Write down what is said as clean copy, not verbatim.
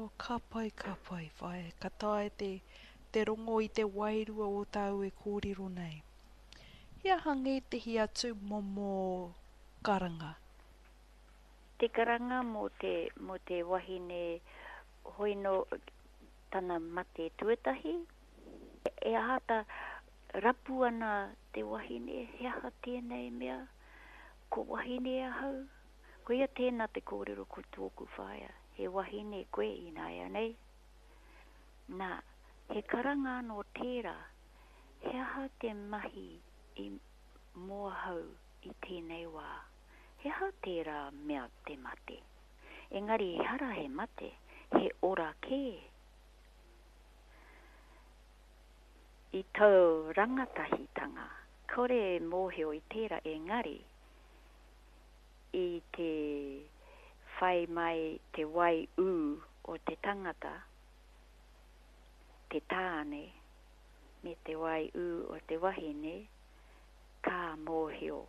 Oh, ka pai, ka pai, whaea. Ka taea te, te rongo i te wairua o tāu e kōrero nei. He aha ngētehi atu momo karanga? Te karanga mō te, mō te wahine hoi nō tana mate tuatahi. E āta rapu ana te wahine, he aha tēnei mea? Ko wahine ahau? Koia tēnā te kōrero ko tōku whaea, he wahine koe ināianei. Nā, he karanga anō tērā, he aha te mahi i mō ahau i tēnei wā? He aha tērā mea te mate? Engari ehara he mate, he ora kē. I tō rangatahitanga, kore e mōhio i tērā engari, i te whai mai te wai ū o te tangata, te tāne, me te wai ū o te wahine, ka mōhio.